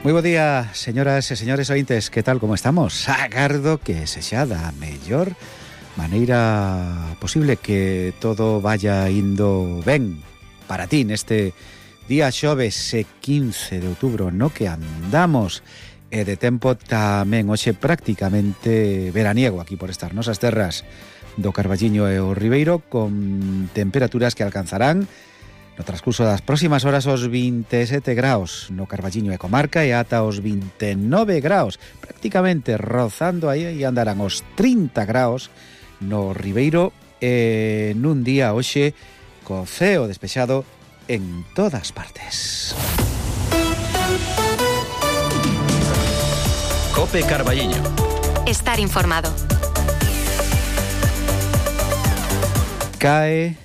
Moi bo día, señoras e señores ointes, que tal, como estamos? Agardo que se xa da mellor maneira posible, que todo vaya indo ben para ti neste día xoves 15 de outubro, no que andamos, e de tempo tamén hoxe prácticamente veraniego aquí por estas nosas terras do Carballiño e o Ribeiro, con temperaturas que alcanzarán no transcurso das próximas horas os 27 graus no Carballiño e comarca, e ata os 29 graus, prácticamente rozando aí, e andarán os 30 graus no Ribeiro, e nun día hoxe co ceo despexado en todas partes. Cope Carballiño. Estar informado. Cae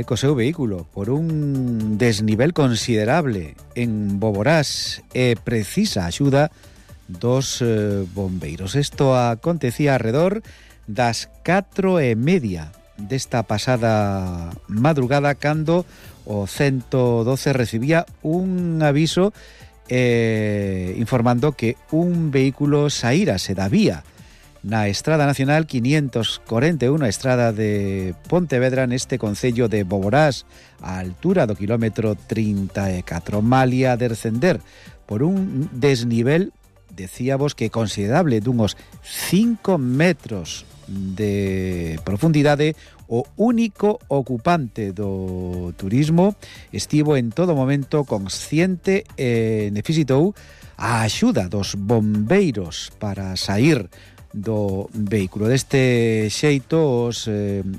co seu vehículo por un desnivel considerable en Boborás e precisa axuda dos bombeiros. Isto acontecía alrededor das 4:30 desta pasada madrugada, cando o 112 recibía un aviso informando que un vehículo saírase da vía na Estrada Nacional 541, a estrada de Pontevedra, neste concello de Boborás, a altura do kilómetro 34. Malia descender por un desnivel, decíamos que considerable, dunhos 5 metros de profundidade, o único ocupante do turismo estivo en todo momento consciente e necesitou a axuda dos bombeiros para sair do vehículo. Deste xeito, os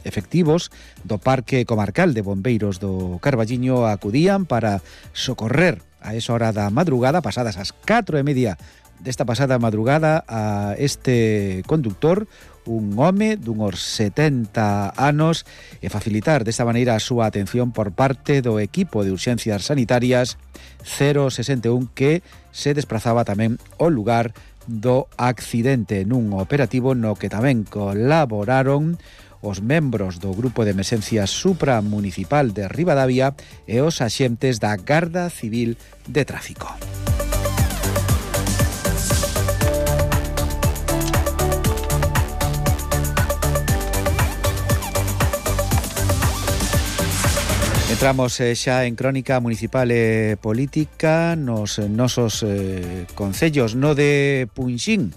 efectivos do Parque Comarcal de Bombeiros do Carballiño acudían para socorrer a esa hora da madrugada, pasadas as 4:30 desta pasada madrugada, a este conductor, un home dunhos 70 anos, e facilitar desta maneira a súa atención por parte do equipo de urxencias sanitarias 061, que se desplazaba tamén ao lugar do accidente, nun operativo no que tamén colaboraron os membros do Grupo de Emerxencias Supramunicipal de Ribadavia e os axentes da Garda Civil de Tráfico. Entramos xa en crónica municipal e política nos nosos concellos. No de Punxín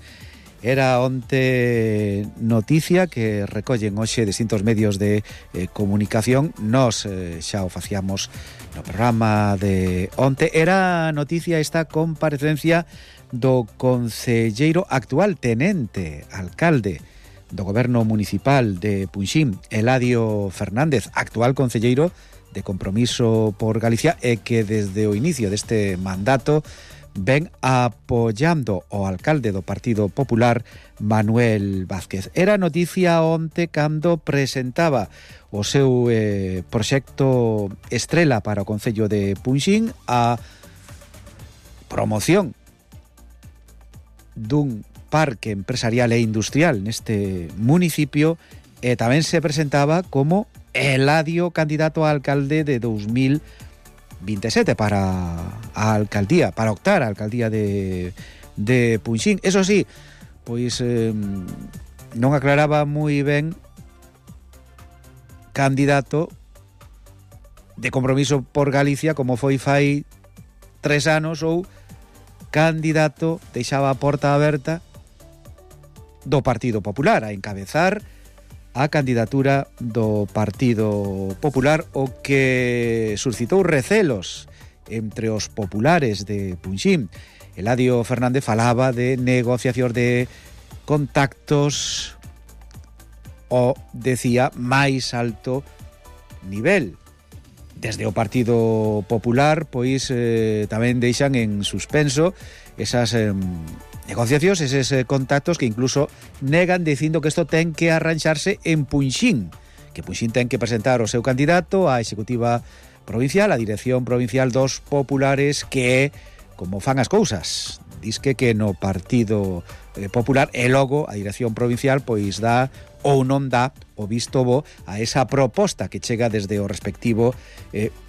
era onte noticia que recollen hoxe distintos medios de comunicación. Nos xa o facíamos no programa de onte. Era noticia esta comparecencia do concelleiro actual tenente alcalde do goberno municipal de Punxín, Eladio Fernández, actual concelleiro de Compromiso por Galicia, e que desde o inicio deste mandato ven apoyando o alcalde do Partido Popular, Manuel Vázquez. Era noticia onte cando presentaba o seu proxecto estrela para o concello de Punxín, a promoción dun parque empresarial e industrial neste municipio, e tamén se presentaba como Eladio candidato a alcalde de 2027 para a alcaldía, para optar a alcaldía de Punxín. Eso sí, pois non aclaraba moi ben candidato de Compromiso por Galicia, como foi fai 3 anos, ou candidato, deixaba a porta aberta, do Partido Popular a encabezar a candidatura do Partido Popular, o que suscitou recelos entre os populares de Punxín. Eladio Fernández falaba de negociación de contactos o, decía, máis alto nivel. Desde o Partido Popular, pois tamén deixan en suspenso esas negociacións, eses contactos, que incluso negan dicindo que isto ten que arranxarse en Punxín, que Punxín ten que presentar o seu candidato á Executiva Provincial, a Dirección Provincial dos Populares, que, como fan as cousas, disque que no Partido Popular, e logo a Dirección Provincial pois dá ou non dá o visto bo a esa proposta que chega desde o respectivo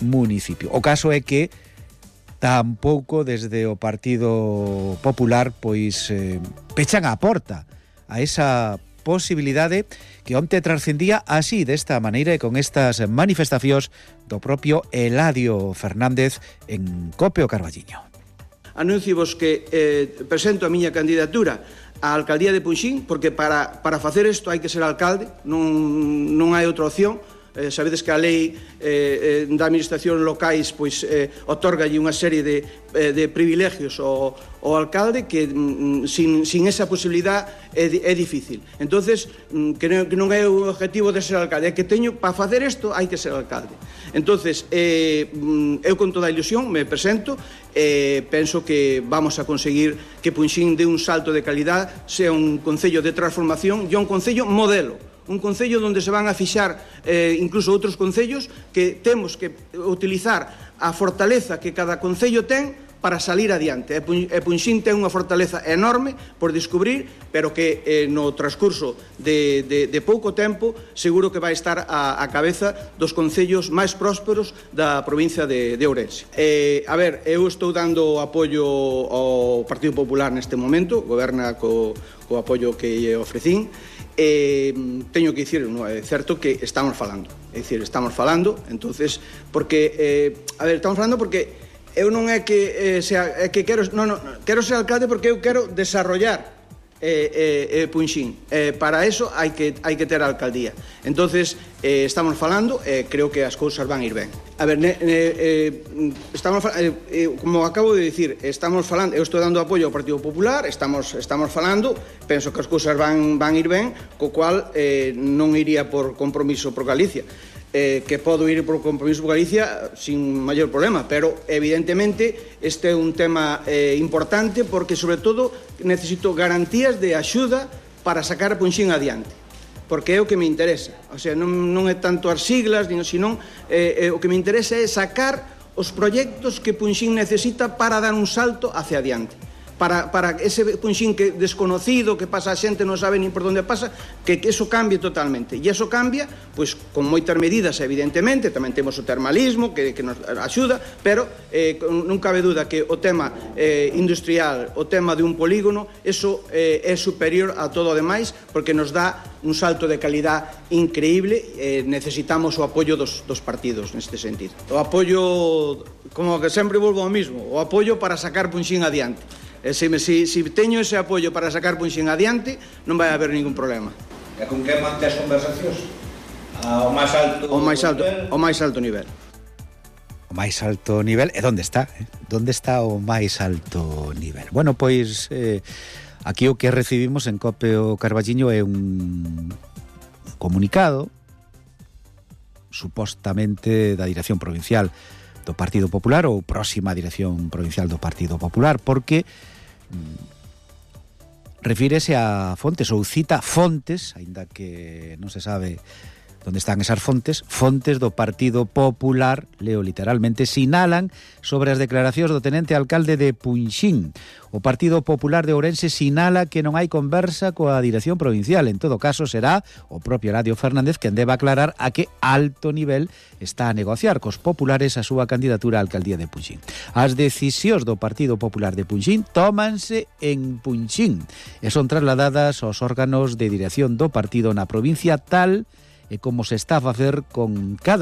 municipio. O caso é que tampouco desde o Partido Popular pois pechan a porta a esa posibilidade que onte trascendía así, desta maneira e con estas manifestacións do propio Eladio Fernández en Cope o Carballiño. Anunciovos que presento a miña candidatura á alcaldía de Punxín, porque para facer isto hai que ser alcalde, non hai outra opción. Sabedes que a lei da administración locais pois otorgalle unha serie de privilegios ao alcalde que sin esa posibilidad é difícil. Entonces, que non é o objetivo de ser alcalde, é que teño, para facer isto hai que ser alcalde. Entonces, eu con toda a ilusión me presento, penso que vamos a conseguir que Punxín dé un salto de calidad, sea un concello de transformación e un concello modelo. Un concello onde se van a fixar incluso outros concellos, que temos que utilizar a fortaleza que cada concello ten para salir adiante. E Punxín ten unha fortaleza enorme por descubrir, pero que no transcurso de pouco tempo seguro que vai estar a cabeza dos concellos máis prósperos da provincia de Ourense. Eu estou dando apoio ao Partido Popular neste momento, goberna co apoio que lle ofrecín. Teño que dicir, é certo que estamos falando, entonces, porque estamos falando porque eu non é que quero ser alcalde, porque eu quero desarrollar Punxín. Para eso hai que ter a alcaldía. Entonces, estamos falando, creo que as cousas van ir ben. Como acabo de dicir, estamos falando, eu estou dando apoio ao Partido Popular, estamos falando, penso que as cousas van ir ben, co cual non iría por compromiso por Galicia. Que podo ir por compromiso por Galicia sin maior problema, pero evidentemente este é un tema importante, porque sobre todo necesito garantías de axuda para sacar a Punxín adiante, porque é o que me interesa. O sea, non é tanto as siglas, senón o que me interesa é sacar os proxectos que Punxín necesita para dar un salto hacia adiante. Para ese Punxín que desconocido, que pasa a xente, non sabe nin por onde pasa, que eso cambie totalmente. E eso cambia, pois, con moitas medidas, evidentemente, tamén temos o termalismo, que nos axuda, pero non cabe duda que o tema industrial, o tema de un polígono, eso é superior a todo o demais, porque nos dá un salto de calidad increíble. Necesitamos o apoio dos partidos neste sentido. O apoio, como que sempre volvo ao mismo, o apoio para sacar Punxín adiante. Se teño ese apoio para sacar Punxín adiante, non vai haber ningún problema. E con que mantes conversacións? Ao máis alto nivel? O máis alto nivel. O máis alto nivel, e onde está? Onde está o máis alto nivel? Bueno, pois aquí o que recibimos en Cope o Carballiño é un comunicado supostamente da Dirección Provincial do Partido Popular, ou próxima Dirección Provincial do Partido Popular, porque refírese a fontes, ou cita fontes, aínda que non se sabe onde están esas fontes do Partido Popular, leo literalmente, sinalan sobre as declaracións do tenente alcalde de Punxín. O Partido Popular de Ourense sinala que non hai conversa coa Dirección Provincial. En todo caso, será o propio Eladio Fernández quen deba aclarar a que alto nivel está a negociar cos populares a súa candidatura á alcaldía de Punxín. As decisións do Partido Popular de Punxín tómanse en Punxín e son trasladadas aos órganos de dirección do partido na provincia, tal e como se está a facer con cada